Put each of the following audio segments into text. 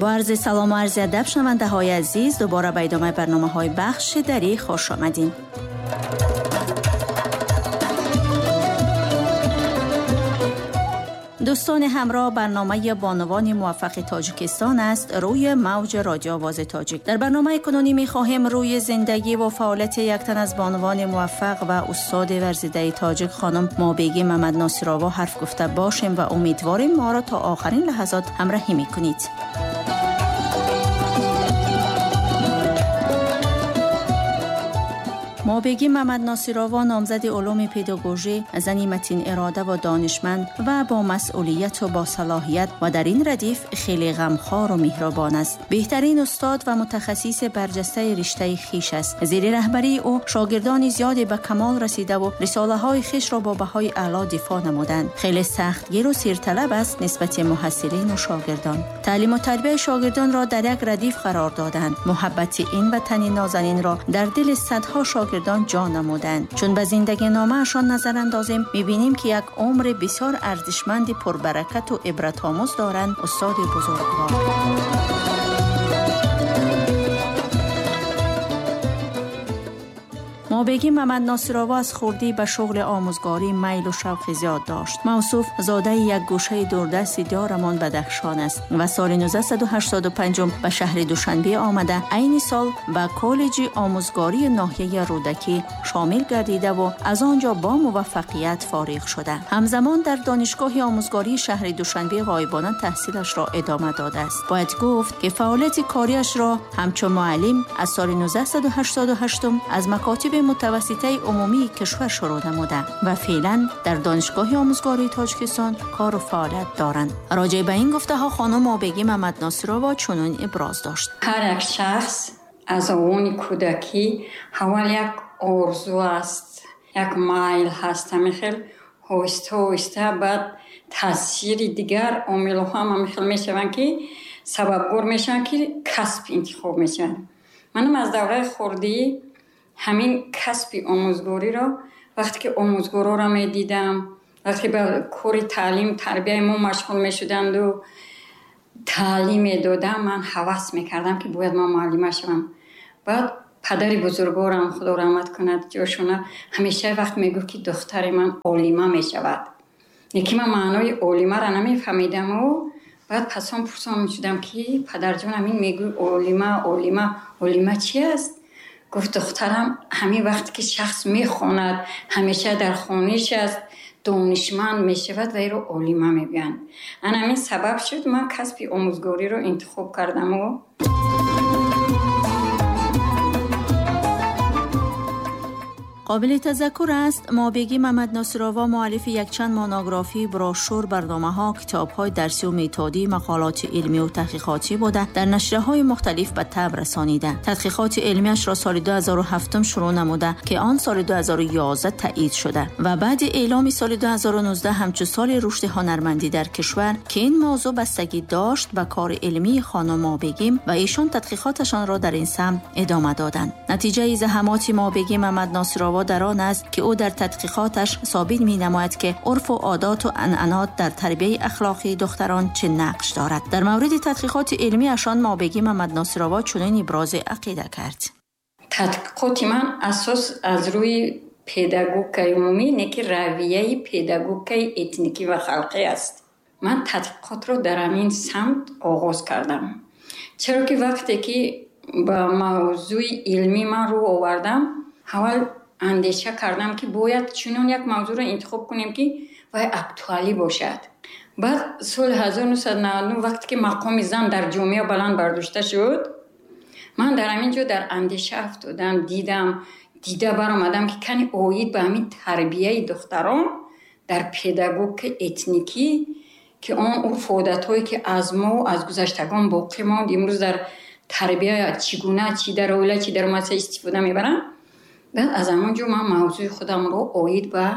با عرض سلام و عرض ادب شنونده های عزیز، دوباره به ادامه برنامه های بخش دری خوش آمدین. دوستان همراه، برنامه بانوان موفق تاجیکستان است روی موج رادیو آواز تاجیک. در برنامه کنونی می‌خواهیم روی زندگی و فعالیت یک تن از بانوان موفق و استاد ورزیده تاجیک خانم مابیگی محمد ناصرآوا حرف گفته باشیم و امیدواریم ما را تا آخرین لحظات همراهی می‌کنید. مابیگی محمد ناصرآوا نامزد علوم پداگوژی، زنی متین اراده و دانشمند و با مسئولیت و با صلاحیت و در این ردیف خیلی غمخوار و مهربان است. بهترین استاد و متخصص برجسته رشته خیش است. زیر رهبری او شاگردان زیادی به کمال رسیده و رساله های خیش را با بهای اعلی دفاع نمودند. خیلی سختگیر و سیرطلب است نسبت محصلین و شاگردان. تعلیم و تربیت شاگردان را در یک ردیف قرار دادند. محبت این وطن نازنین را در دل صدها شاگرد جا نمودند. چون به زندگی نامه‌شان نظر اندازیم می‌بینیم که یک عمر بسیار ارزشمند، پربرکت و عبرت‌آموز دارند استاد بزرگوار. مابیگی محمد ناصرآوا از خردی به شغل آموزگاری میل و شوق زیاد داشت. موصوف زاده یک گوشه دوردست دیارمان بدخشان است و سال 1985 به شهر دوشنبه آمده. عین سال به کالج آموزگاری ناحیه رودکی شامل گردیده و از آنجا با موفقیت فارغ شده. همزمان در دانشگاه آموزگاری شهر دوشنبه غایبانه تحصیلش را ادامه داده است. باید گفت که فعالیت کاریش را همچون معلم از سال 1988 از مکاتب متوسطه عمومی کشور شروع نموده و فعلا در دانشگاه آموزگاری تاجیکستان کار و فعالیت دارند. راجع به این گفته ها خانم مابیگی محمد ناصرآوا چنین ابراز داشت: هر یک شخص از اوان کودکی اول یک آرزو است، یک میل هست، همین هوسته هوسته بعد تاثیر دیگر عامل‌ها هم همین میشوند که سببگور میشن که کسب انتخاب میشن. منم از دوره خردی همین کسب آموزگاری را وقتی که آموزگارا را می دیدم، وقتی به کار تعلیم تربیه ما مشغول می شدند و تعلیم می دادم، من هوس می کردم که باید من معلمه شوم. بعد پدر بزرگوارم خدا رحمت کند جاشونه همیشه وقت می گفت که دختر من عالمه می شود. یکی من معنای عالمه را نمی فهمیدم و بعد پسان پرسان می شدم که پدر جان همین می گوی عالمه عالمه عالمه چی است؟ گفت دخترم همین وقتی که شخص میخواند همیشه در خانه‌اش است، دانشمند میشود و ای رو عالمه میگن. من همین سبب شد من کسب آموزگاری رو انتخاب کردم. و قابل تذکر است مابیگی محمد ناصرآوا مؤلف یکچند مونوگرافی، بروشور، برنامه‌ها، کتاب‌های درسی و متدی، مقالات علمی و تحقیقاتی بوده در نشریه‌های مختلف به طبع رسانیده. تحقیقات علمی‌اش را سال 2007 شروع نموده که آن سال 2011 تایید شده و بعد اعلام سال 2019 همچون سال رشد هنرمندی در کشور که این موضوع بستگی داشت به کار علمی خانم مابیگی و ایشان تحقیقاتشان را در این سمت ادامه دادند. نتیجه زحمات مابیگی محمد ناصرآوا در آن است که او در تحقیقاتش ثابت می‌نماید که عرف و عادات و عنعنات در تربیه اخلاقی دختران چه نقش دارد. در مورد تحقیقات علمی اشان مابیگی محمد ناصرآوا چنین ابراز عقیده کرد: تحقیقات من اساس از روی پداگوگی عمومی نه که رویه پداگوگی اتنیکی و خلقی است. من تحقیقات را در همین سمت آغاز کردم، چرا که وقتی که با موضوع علمی من رو آوردم اول اندیشه کردم که باید چنون یک موضوع را انتخاب کنیم که وای اکتوالی باشد. بعد سال 1999 وقتی که مقام زن در جامعه بلند برداشته شد، من در همینجا در اندیشه افتادم، دیده برآمدم که کنی اوید به همین تربیه دختران در پداگوگ اتنیکی که آن عرف و عادت‌هایی که از ما و از گذشتگان باقی ماند امروز در تربیه چگونه چی در اوله چی در مدرسه استفاده میبرن. بعد از همونجا من موضوع خودم رو آید به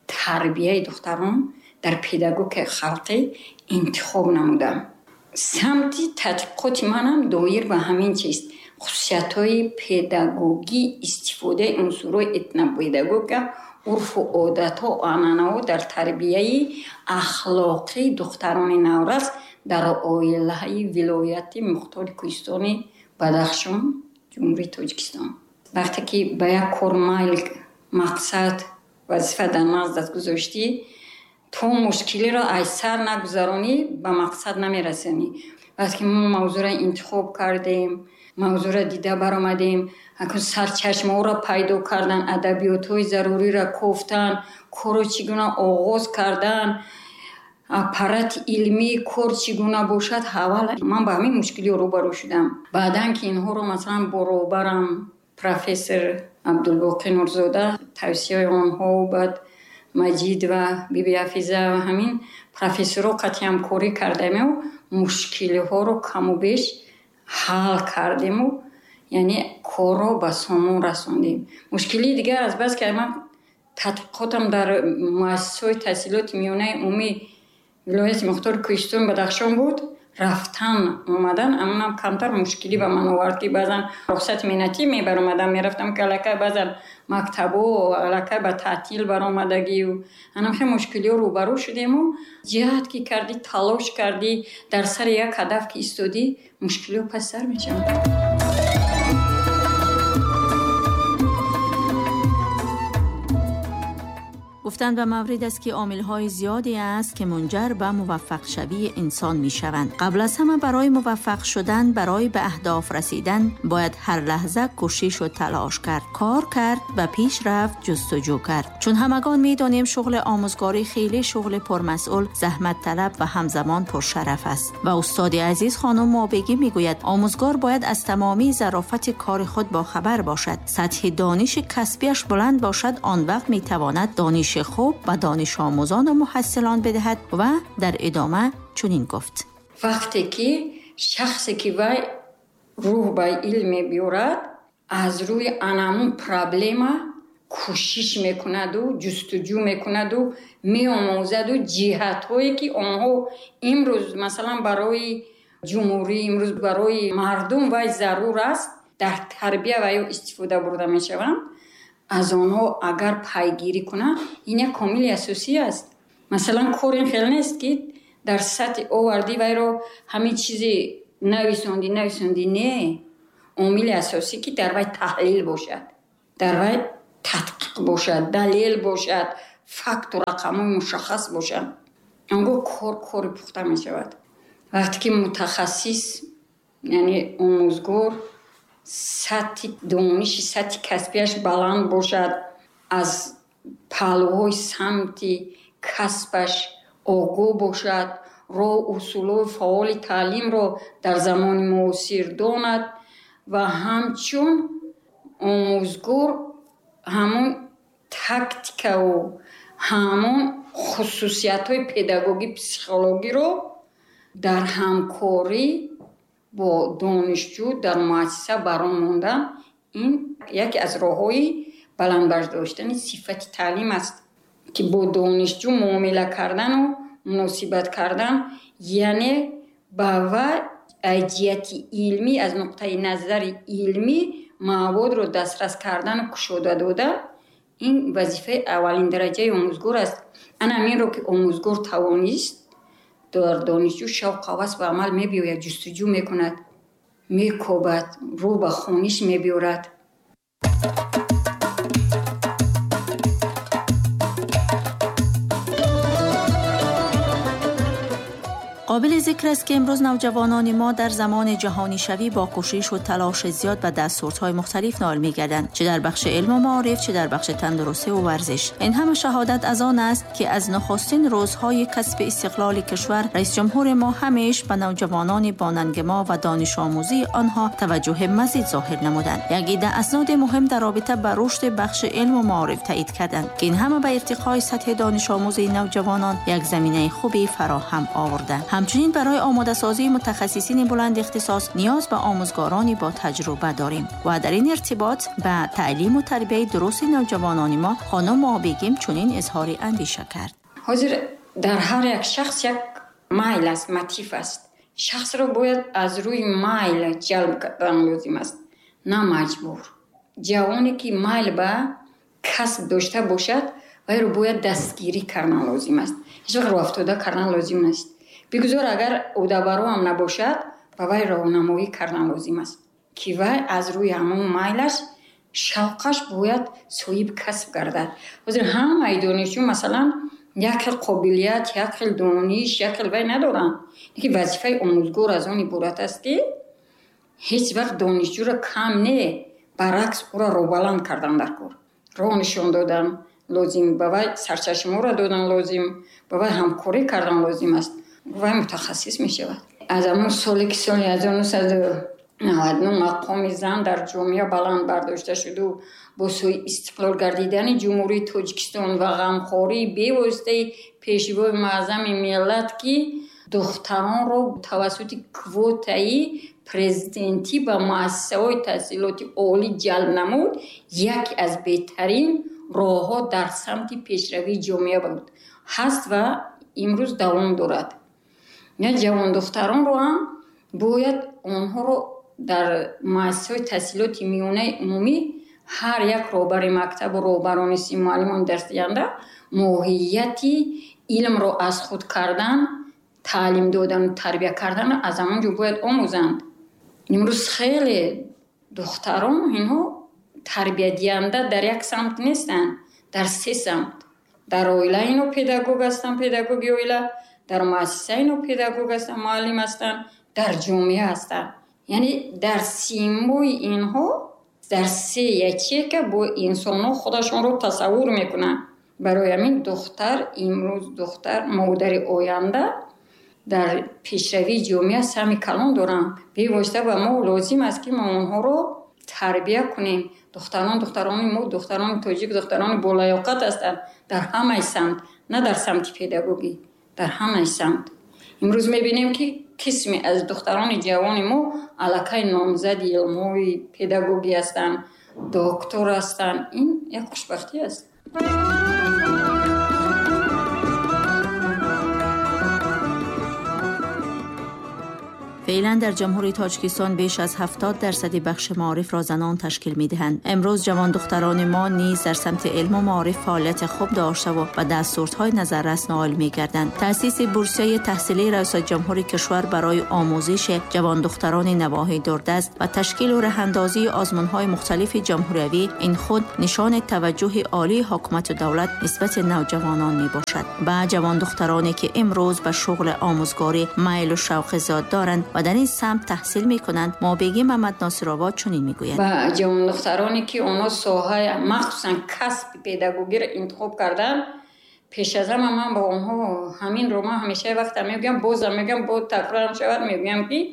تربیه دختران در پداگوگ خلقی انتخاب نمودم. سمت تحقیقات منم دایر به همین چیز، خصوصیت‌های پداگوگی استفاده عنصرهای اتنوپداگوگ، عرف و عادت‌ها و عنعنه‌ها در تربیه اخلاقی دختران نورس Дар оилаи вилояти Мухтори Кӯҳистони Бадахшон, Ҷумҳурии Тоҷикистон. Вақте ки ба як кор майл, мақсад, вазифа дар наздат гузоштӣ, то мушкилиро аз сар нагузаронӣ, ба мақсад намерасонӣ. Вақте ки мо мавзӯъро интихоб кардем, мавзӯъро дида баромадем, сарчашмаҳоро пайдо кардан, адабиётҳои заруриро кофтан, корро чӣ гуна оғоз кардан, аппарати илмии кор чӣ гуна бошад, аввал ман ба ҳамин мушкилиҳо рӯбарӯ шудам. Баъдан ки инҳоро масалан баробарам профессор Абдулбоқӣ Нурзода, тавсияи онҳо, баъд Маҷид ва Биби Ҳафиза ва ҳамин профессорҳо қатъи ҳамкорӣ кардему мушкилиҳоро каму беш ҳал кардему, яъне корро ба сомон расондем. Мушкилии дигар аз бас ки ман тадқиқотам дар муассисаҳои таҳсилоти миёнаи умумии вилояти Мухтори Кӯҳистони Бадахшон буд, рафтан омадан амонам камтар мушкилӣ ба ман овард, ки баъзан рухсати меҳнатӣ мебаромадам, мерафтам, ки аллакай баъзан мактабо аллакай ба таътил баромадагию анам хеле мушкилиҳо рӯбарӯ шудему ҷиҳат ки кардӣ, талош кардӣ, дар сари як ҳадаф ки истодӣ, мушкилиҳо пас сар мешаванд. گفتند به مورد است که عامل‌های زیادی است که منجر به موفق شوی انسان می‌شوند. قبل از همه برای موفق شدن، برای به اهداف رسیدن باید هر لحظه کوشش و تلاش کرد، کار کرد و پیش رفت، جستجو کرد. چون همگان می‌دانیم شغل آموزگاری خیلی شغل پرمسئول، زحمت طلب و همزمان پرشرف است. و استاد عزیز خانم مابگی می‌گوید آموزگار باید از تمامی ظرافت کار خود باخبر باشد، سطح دانش کسبیش بلند باشد، آن وقت می‌تواند دانش خوب و دانش آموزان و محصلان بدهد. و در ادامه چنین گفت: وقتی که شخصی که وی روح به علم بیارد، از روی انمون پرابلما کوشش میکند و جستجو میکند و میآموزد و جهت‌هایی که آنها امروز مثلا برای جمهوری، امروز برای مردم وی ضرور است، در تربیه و یا استفاده برده میشوند، از آنها اگر پیگیری کنند، این یک کامل اساسی است. مثلا کار این خیلی نیست که در سطح آوردی وی رو همین چیزی نویسوندی، نه. عامل اساسی که در وی تحلیل باشد، در وی تدقیق باشد، دلیل باشد، فکت و رقم مشخص باشد، آنگاه کار پخته می شود. وقتی که متخصص یعنی آموزگار سطح دانش، سطح کسبیش بلند باشد، از پهلوهای سمت کسبش آگاه باشد، راه اصول فعال تعلیم را در زمان معاصر داند و همچون آموزگار همون تاکتیک و همون خصوصیت های پداگوگی پسیخولوژی رو در همکاری با دانشجو در مؤسسه بران ماندن، این یکی از راه‌های بلند برداشتن صفت تعلیم است که با دانشجو معامله کردن و مناسبت کردن، یعنی با جهت علمی، از نقطه نظر علمی مواد رو دسترس کردن و کشوده داده، این وظیفه اولین درجه آموزگار است. انا همین رو که آموزگار توانست در دانشجو شوق هوس به عمل می‌بیاید، جستجو می‌کند، می‌کوبد، رو به خونش می‌بیارد. قابل ذکر است که امروز نوجوانان ما در زمان جهانی شوی با کوشش و تلاش زیاد به دستاوردهای مختلف نائل می‌گردند، چه در بخش علم و معارف، چه در بخش تندرستی و ورزش. این همه شهادت از آن است که از نخستین روزهای کسب استقلال کشور، رئیس جمهور ما همیش به نوجوانان باننگ ما و دانش آموزی آنها توجه مزید ظاهر نمودند. یک عده اسناد مهم در رابطه با رشد بخش علم و معارف تایید کردند که این همه به ارتقای سطح دانش آموزی نوجوانان یک زمینه خوبی فراهم آوردند. همچنین برای آماده سازی متخصصین بلند اختصاص نیاز به آموزگارانی با تجربه داریم و در این ارتباط به تعلیم و تربیه درست نوجوانان ما خانم مابگیم چنین اظهار اندیشه کرد. حاضر در هر یک شخص یک میل است، متیف است. شخص را باید از روی میل جلب کردن لازم است، نه مجبور. جوانی که میل به کسب داشته باشد وی را باید دستگیری کردن لازم است. هیچ وقت راه افتاده کردن لازم نیست. Бигузор агар одабароам набошад, ба вай роҳнамоӣ кардан лозим аст, ки вай аз рӯи ҳамон майлаш, шавқаш бояд соҳиби касб гардад. Ҳозир ҳамаи донишҷӯ масалан як хел қобилият, як хел дониш, як хел вай надоранд. Лекин вазифаи омӯзгор аз он иборат аст, ки ҳеҷ вақт донишҷӯро кам не, баръакс ӯро роҳбаланд кардан дар кор. Роҳ нишон додан лозим, ба вай сарчашмаҳоро додан лозим, ба вай ҳамкорӣ кардан лозим аст. Вай мутахассис мешавад. Аз ҳамон соле ки соли 1999 мақоми зан дар ҷомеа баланд бардошта шуду бо сӯи истиқлол гардидани Ҷумҳурии Тоҷикистон ва ғамхории бевоситаи Пешвои Муаззами миллат, ки духтаронро тавассути квотаи президентӣ ба муассисаҳои таҳсилоти олӣ ҷалб намуд, яке аз беҳтарин роҳҳо дар самти пешравии ҷомеа буд, ҳаст ва имрӯз давом дорад. Ҷавондухтаронро ҳам бояд онҳоро дар муассисаҳои таҳсилоти миёнаи умумӣ ҳар як роҳбари мактабу роҳбарони муаллимони дарсдиҳанда моҳияти илмро аз худ кардан, таълим додану тарбия кардан аз ҳамон ҷо бояд омӯзанд. Имрӯз хеле духтарон инҳо тарбиядиҳанда дар як самт нестанд, дар се самт. Дар оила ино педагог ҳастанд, педагоги оила, дар муассиса ино педагог ҳастанд, муаллим ҳастанд, дар ҷомеа ҳастанд. Яъне дар симои инҳо дар се ячейка бо инсонҳо худашонро тасаввур мекунанд. Барои ҳамин духтар имрӯз, духтар модари оянда дар пешравии ҷомеа саҳми калон доранд. Бевосита ба мо лозим аст, ки мо онҳоро тарбия кунем. Духтарон, духтарони мо, духтарони тоҷик, духтарони болаёқат ҳастанд дар ҳамаи самт, на дар самти педагогӣ, дар ҳамаи самт. Имрӯз мебинем, ки қисме аз духтарони ҷавони мо аллакай номзади илмҳои педагогӣ ҳастанд, доктор ҳастанд. Ин як хушбахтӣ аст. فعلا در جمهوری تاجیکستان بیش از 70% بخش معارف را زنان تشکیل می‌دهند. امروز جوان دختران ما نیز در سمت علم و معارف فعالیت خوب داشته و به دستاوردهای نظررس نائل می‌گردند. تأسیس بورسیه تحصیلی ریاست جمهوری کشور برای آموزش جوان دختران نواحی دوردست و تشکیل و رهاندازی آزمون‌های مختلف جمهوری این خود نشان توجه عالی حکومت و دولت نسبت نوجوانان می‌باشد. به جوان دخترانی که امروز به شغل آموزگاری میل و شوق زیاد دارند و در این سمت تحصیل میکنند، مابیگی محمد ناصرآباد چنین میگوید: با جوان دخترانی که اونا ساحه مخصوصا کسب پداگوگی را انتخاب کردن، پیش از همه من با اونها همین رو من همیشه وقت میگم، بازم میگم، با تکرارم شود، میگم که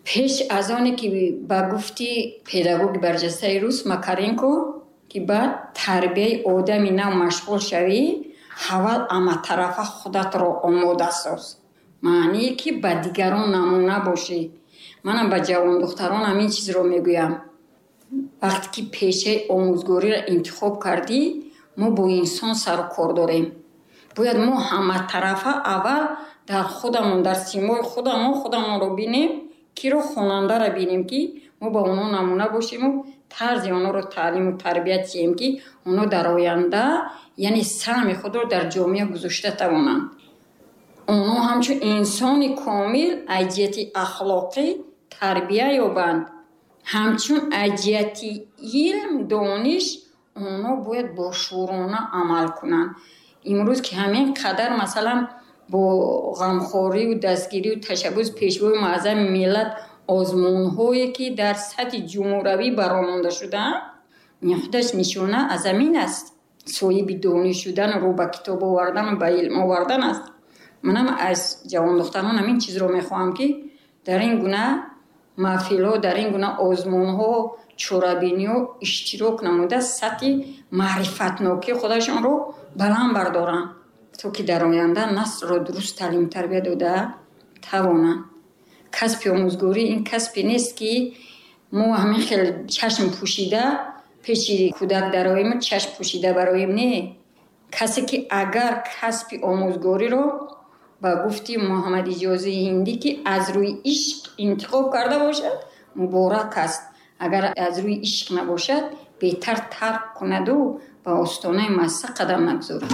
پیش از آنی که با گفتی پداگوگ برجسته روس ماکارینکو که با تربیه آدمی نو مشغول شوی، اول اما طرف خودت رو آماده ساز، маъние ки ба дигарон намуна бошӣ. Манам ба ҷавондухтарон ҳамин чизро мегӯям. Вақте ки пешаи омӯзгориро интихоб кардӣ, мо бо инсон сару кор дорем. Бояд мо ҳаматарафа аввал дар худамон, дар симои худамон худамонро бинем, киро хонандаро бинем, ки мо ба онҳо намуна бошему тарзи онҳоро таълиму тарбият диҳем, ки онҳо дар оянда яъне саҳми худро дар ҷомеа гузошта тавонанд. Онҳо ҳамчун инсони комил аз ҷиҳати ахлоқӣ тарбия ёбанд, ҳамчун аз ҷиҳати илм, дониш онҳо бояд бошӯрона амал кунанд. Имрӯз ки ҳамин қадар масалан бо ғамхорию дастгирию ташаббус Пешвои Муаззами миллат озмунҳое ки дар сатҳи ҷумҳуравӣ баромонда шудаанд, ин худаш нишона аз ҳамин аст. Соҳиби дониш шудан, рӯ ба китоб овардану ба илм овардан аст. Манам аз ҷавондухтарон ҳамин чизро мехоҳам, ки дар ин гуна маҳфилҳо, дар ин гуна озмунҳо, чорабиниҳо иштирок намуда сатҳи маърифатнокии худашонро баланд бардоранд, то ки дар оянда наслро дуруст таълиму тарбия дода тавонанд. Касби омӯзгорӣ ин касбе нест, ки мо ҳамин хел чашм пӯшида пеши кӯдак дароем, чашм пӯшида бароем. Не, касе ки агар касби омӯзгориро ба гуфти Муҳаммад Иҷозии Ҳиндӣ, ки аз рӯи ишқ интихоб карда бошад, муборак аст. Агар аз рӯи ишқ набошад, беҳтар тарк кунаду ба остонаи муассиса қадам нагузорад.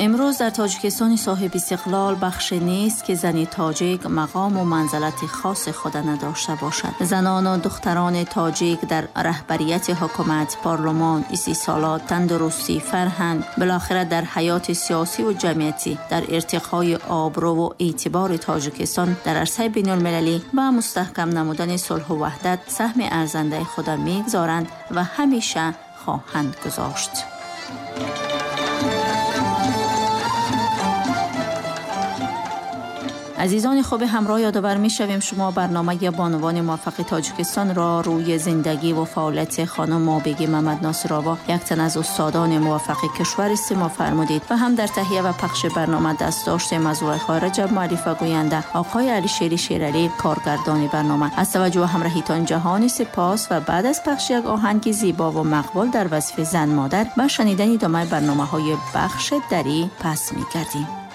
Имрӯз дар Тоҷикистони соҳибистиқлол бахше нест, ки зани тоҷик мақому манзалати хоси худа надошта бошад. Занону духтарони тоҷик дар раҳбарияти ҳукумат, парлумон, истисолот, тандурустӣ, фарҳанг, билохира дар ҳаёти сиёсиву ҷамъиятӣ, дар иртиқои обрӯву эътибори Тоҷикистон дар арсаи байнулмилалӣ ва мустаҳкам намудани сулҳу ваҳдат саҳми арзандаи худа мегузоранд ва ҳамеша хоҳанд гузошт. Азизони хуби ҳамроҳ, ёдовар мешавем, шумо барномаи бонувони муваффақи Тоҷикистонро рӯи зиндагӣ ва фаъолияти хонум Мобегӣ Мамадносирова, як тан аз устодони муваффақи кишвар истимоъ фармудед ва ҳам дар таҳия ва пахши барнома даст доштем аз Зулайхо Раҷаб, муаллиф ва гӯянда, оқои Алишери Шералӣ, коргардони барнома. Аз таваҷҷӯҳ ва ҳамроҳитон ҷаҳони сипос ва баъд аз пахши як оҳанги зебо ва мақбул дар васфи зан модар ба шунидани идомаи барномаҳои бахши дарӣ пас мегардем.